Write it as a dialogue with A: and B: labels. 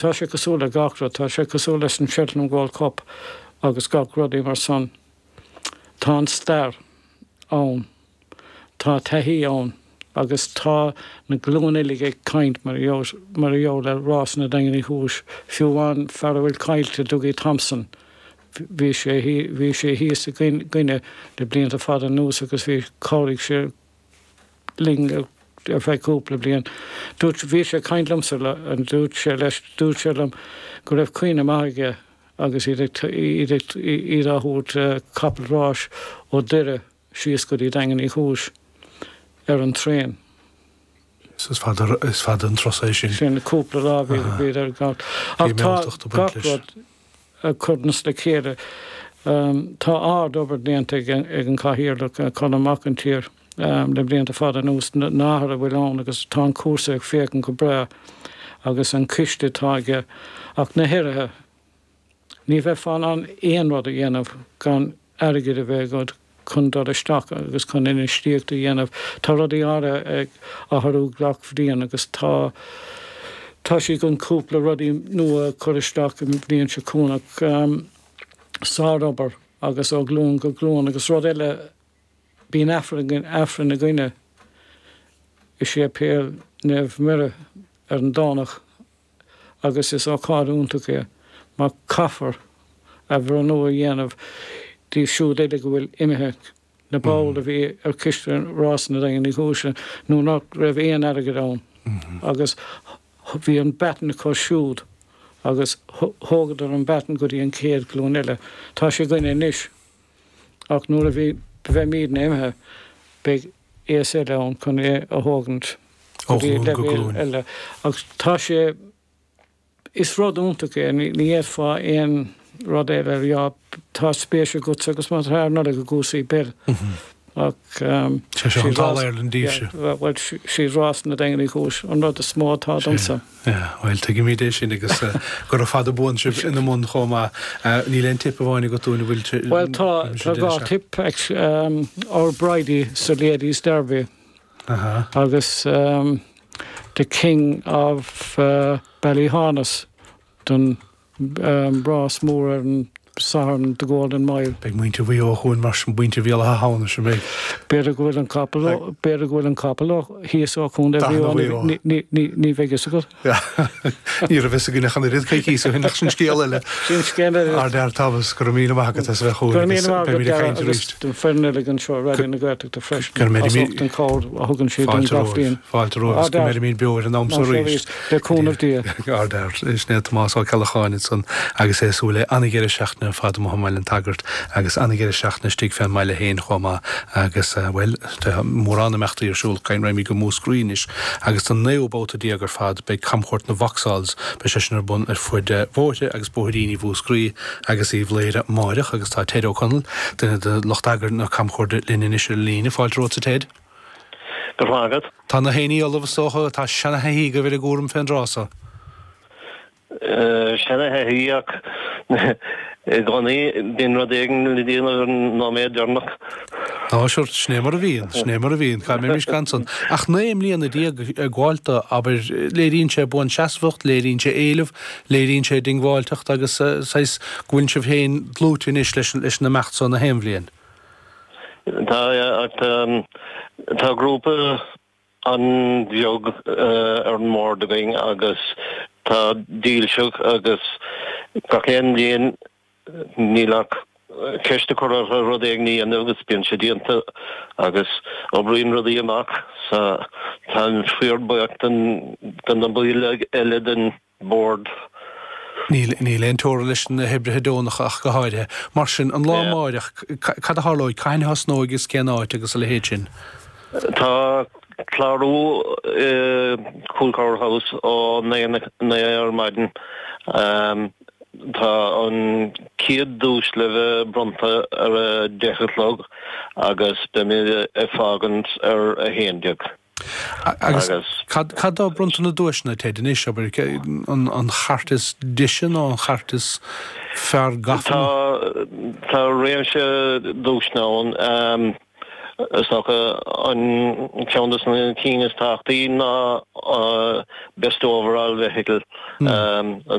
A: Tá sé cosúil le gach rud, tá sé cosúil leis an Cheltenham Gold Cup agus gach rudaí mar san. Tá an stair ann, tá taithí ann agus tá na glúin uilig ag caint mar mar gheall ar Rásanna Daingean Uí Chúis. Fiú amháin fear a bhfuil caillte, Dougie Thompson, bhí sé bhí sé thíos againne le blianta fada anuas agus bhí chabhraigh sé linn ar feadh cúpla bliain. Dúirt, bhí sé ag caint liomsa, dúirt sé leis, dúirt sé liom go raibh cuimhne maith aige agus iad ag, iad ag, iad á thabhairt capall ráis ó Doire síos go dtí Daingean Uí Chúis ar an traein.
B: Is fada, is fada an turas é sin.
A: Sin cúpla lá bhí, bhíodar ag gabháil. Ach tá gach rud ag cur le chéile. Tá ard-obair déanta ag an Chathaoirleach, Colm Mac an tSaoir, le blianta fada anuas, na hathruithe a bhfuil ann agus tá an cúrsa ag féachaint go breá agus an coiste atá aige. Ach na hoibrithe, ní bheifeá in ann aon rud a dhéanamh gan airgead a bheith agat chun dul isteach agus chun infheistíocht a dhéanamh. Tá rudaí áirithe ag athrú gach bhliain agus tá tá siad chun cúpla rudaí nua a chur isteach an bhliain seo chugainn ach sárobair agus ó ghlúin go glúin agus rud eile bíonn Aifreann Aifreann againne i Séipéal Naomh Muire ar an Domhnach agus is ócáid iontach é mar caithfear athbhreithniú a dhéanamh díobh siúd uilig a bhfuil imithe, na baill a bhí ar choiste Rásanna Daingean Uí Chúis nuair nach raibh aon airgead ann agus bhí an baton acu siúd agus thógadar an baton go dtí an chéad ghlúin eile. Tá sé againne anois ach nuair a bhí bheimídne imithe beidh aos eile ann chun é a thógaint go dtí leibhéal eile. Ach tá sé, is rud iontach é, ní fhéadfá aon rud eile a rá, tá spéis agatsa agus má tá ar Nollaig i gcúrsaí peil. Ach
B: Sé seo an tAll Ireland daoibhse.
A: Bhuel, sí Rásanna Daingean Uí Chúis an rud is mó atá domsa.
B: Yeah, bhuel, tuigimid é sin agus gura fada buan sibh ina mbun chomh maith. Níl aon tip amháin agat dúinn a bhfuil
A: Bhuel, tá, tá dhá tip, Our Bridie sa Ladies Derby agus The King of Ballyhaunis don rás mór ar an Satharn, The Golden Mile.
B: Beidh muintir Mhaigh Eo chugainn mar sin, muintir Bhéal Átha hAmhnais, an mbeidh?
A: B'fhéidir go bhfuil an capall, b'fhéidir go bhfuil an capall thíos ó Chontae Mhaigh Eo, ní bheidh fhios agat.
B: Ní raibh fhios againn ach an oiread coicís ó shin ach sin scéal eile.
A: Sin scéal eile.
B: Ardfhear Thomas, go raibh míle maith agat as a bheith chugainn agus beimid ag caint arís.
A: Don foireann uilig anseo i Raidió na Gaeltachta freisin as ucht an chabhair a thugann siad dúinn gach bliain.
B: Fáilte romhaibh agus go mbeirimid beo ar an am so arís.
A: Le cúnamh Dé.
B: Ardfhear. Sin é Tomás Ó Ceallacháin ansan agus é ag súil le an-dheireadh seachtaine ar fad amuigh i mBaile an tSagairt agus an-dheireadh seachtaine istigh fén mbaile féin chomh maith agus, bhuel, tá mórán imeachtaí ar siúl. Raghaimid go Múscraí anois agus don naoú babhta déag ar fad beidh camchuairt na Vauxhalls, beidh sé sin ar bun ar fuid bhóithre agus bóithríní Mhúscraí agus Uíbh Laoghaire amáireach agus tá Ted Ó Conaill, duine de lucht eagair na camchuairte linn anois ar an líne. Fáilte romhatsa Ted.
C: Go raibh maith agat.
B: Tá na héinní ullamh is dócha, tá seana-thaithí agaibh ar an gcúram fén dtráth so.
C: Seana-thaithí ach i gcónaí bíonn rud éigin le déanamh ar an nóiméad deireanach.
B: Á sure, sin é mar a bhíonn, sin é mar a bhíonn, cá mbeimis gan san. Ach 19 mbliana ag gabháil dó, abair, léiríonn sé buanseasmhacht, léiríonn sé éileamh, léiríonn sé diongbháilteacht agus saghas go bhfuil sibh féin dlúite anois leis an imeacht so na haon bhliain.
C: Tá, ach tá grúpa an-bheag ar an mbord againn agus tá dílseach agus gach aon bhliain níl ach ceist a chur orthu rud éigin a dhéanamh agus bíonn sé déanta agus oibríonn rudaí amach so táim fíorbhuíoch de na baill eile den bord.
B: Níl, níl aon teora leis na hoibrithe deonacha ach go háirithe. Mar sin, an lá amáireach, cad a tharlóidh, cathain a thosnóidh agus cén áit agus a leithéid sin?
C: Tá clárú i Coolcowr House ó 9 ar maidin. Tá an chéad duais le bheith bronnta ar a 10 a chlog agus beimid ag fágaint ar a 11.
B: Agus cad atá bronnta na duaiseanna, Ted, anois, abair, an chairt is deise nó an chairt is fearr gafa?
C: Tá, tá réimse duaiseanna ann. Is dócha an ceann de na cinn is tábhachtaí ná Best Overall Vehicle.